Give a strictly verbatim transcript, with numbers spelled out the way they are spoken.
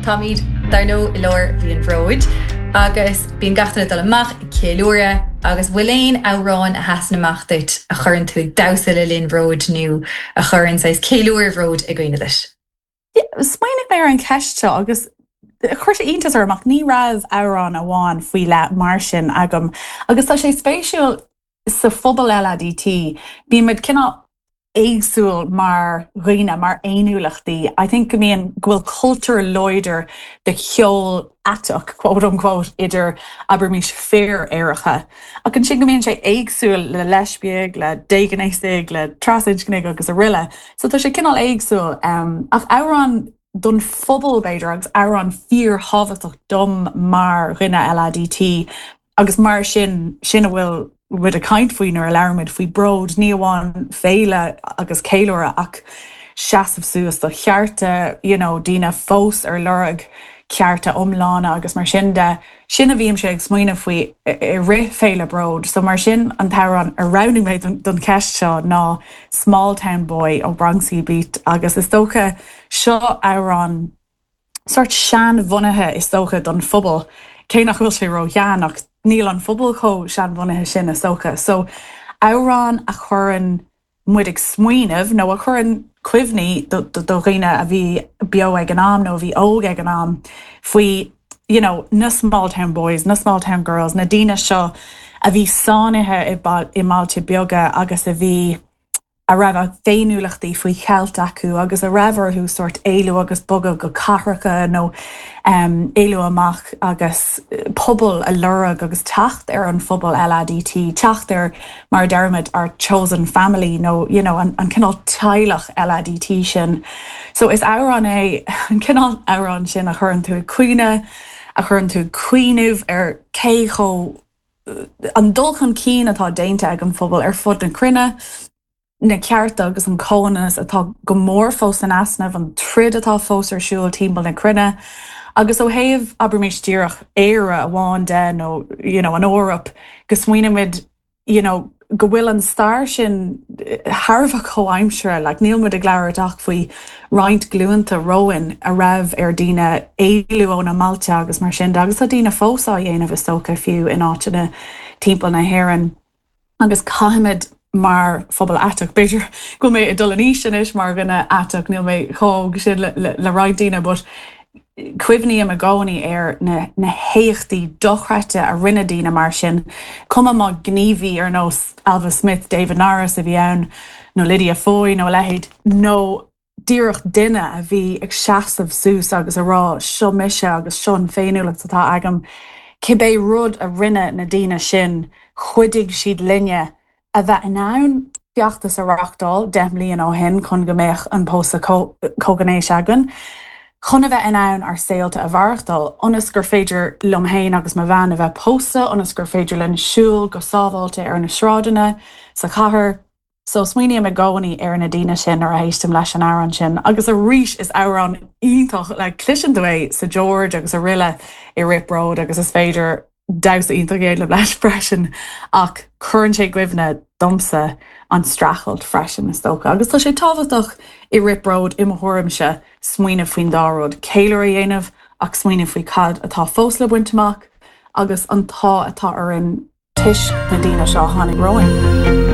Táimid dar ndóigh i lár mhí an Bhróid agus bíonn gach duine dul amach ceiliúradh agus bhfuil aon amhrán a sheasann amach duit a chuireann tú ag damhsa le linn bróid nó a chuireann saghas ceiliúradh bróid i gcuimhne duit. Smaoinigh mé ar an cheist seo agus chuir sé iontas orm ach ní raibh amhrán amháin faoi leith mar sin agam agus tá sé spéisiúil sa phobal LADT bímid cineál éagsúil mar dhaoine mar fhéiniúlachtaí. I think go mbíonn go bhfuil cultúr láidir de cheol aiteach quote unquote idir abraimis fir aeracha. Ach ansin go mbíonn sé éagsúil le leispiaigh, le déghnéasaigh, le trasinscnigh agus araile. So tá sé cineál éagsúil um, ach amhrán don phobal b'fhéidir agus amhrán fíorthábhachtach dom mar dhuine LADT agus mar sin sin a bhfuil muid ag caint faoi nuair a labhraímid faoi bród ní amháin féile agus ceiliúradh ach seasamh suas do chearta you know, daoine fós ar lorg cearta iomlána agus mar sin de sin a bhímse ag smaoineamh faoi i rith féile bród, so mar sin an t-amhrán a roghnaigh mé don cheist seo ná Small Town Boy ó Bronski Beat agus is dócha seo amhrán sort seanbhunaithe is dócha don phobal cé nach bhfuil sé ró-shean ach níl an phobal chomh seanbhunaithe sin is dócha. So amhrán a chuireann muid ag smaoineamh nó a chuireann cuimhní do dhaoine a bhí beo ag an am nó a bhí óg ag an am faoi you know, na small town boys, na small town girls, na daoine seo a bhí sáinnithe i mbailte beaga agus a bhí a raibh a bhféiniúlachtaí faoi cheilt acu agus a raibh orthu sort éalú agus bogadh go cathracha nó um, éalú amach agus pobal a lorg agus teacht ar an phobal LADT, teacht ar mar deirimid our chosen family nó you know, an, an cineál teaghlach LADT sin. So is amhrán é an cineál amhrán sin a chuireann tú ag caoineadh, a chuireann tú cuimhneamh ar cé chomh an dul chun cinn atá déanta ag an phobal ar fud na cruinne, na cearta agus an comhionannas atá go mór fós in easnamh an troid atá fós ar siúl timpeall na cruinne. Agus ó thaobh abraimis díreach Éire amháin de nó you know, an Eoraip go smaoinímid you know, go bhfuil an stair sin thar a bheith comhaimseartha, like, níl muid ag labhairt ach faoi roinnt glúnta romhainn a raibh ar daoine éalú óna mbailte agus mar sin agus tá daoine fós á dhéanamh is dócha fiú in áiteanna timpeall na hÉireann. Agus caithfimid mar phobal aiteach b'fhéidir go mé ag dul in aois anois mar dhuine aiteach níl mé chomh sin le, le, le roinnt daoine, but cuimhním i gcónaí ar na, na héachtaí dochreidte a rinne daoine mar sin, Cuma má gníomhaí ar nós Ailbhe Smith, David Norris a bhí ann nó Lydia Foy nó leithéid nó díreach duine a bhí ag seasamh suas agus a rá seo mise agus seo an féiniúlacht atá agam, Cibé rud a rinne na daoine sin chuidigh siad linne a bheith in ann feachtas a reáchtáil deich mbliana ó shin chun go mbeadh an pósadh comhghnéis againn. Chun a bheith in ann ár saolta a mhaireachtáil, ionas gur féidir liom féin agus mo bhean a bheith pósta, ionas gur féidir linn siúl go sábháilte ar na sráideanna sa chathair. So smaoiním i gcónaí ar na daoine sin nuair a éistim leis an amhrán sin, agus arís is amhrán iontach le cloiseann tú é sa George agus araile i rith bród agus is féidir damhsa iontach a dhéanamh leis freisin ach cuireann sé i gcuimhne domsa an streachailt freisin is dócha. Agus tá sé tábhachtach i rith bród i mo thuairimse smaoineamh faoin dá rud, ceiliúradh a dhéanamh ach smaoineamh faoi cad atá fós le baint amach agus an t-ádh atá orainn toisc na daoine seo a tháinig romhainn.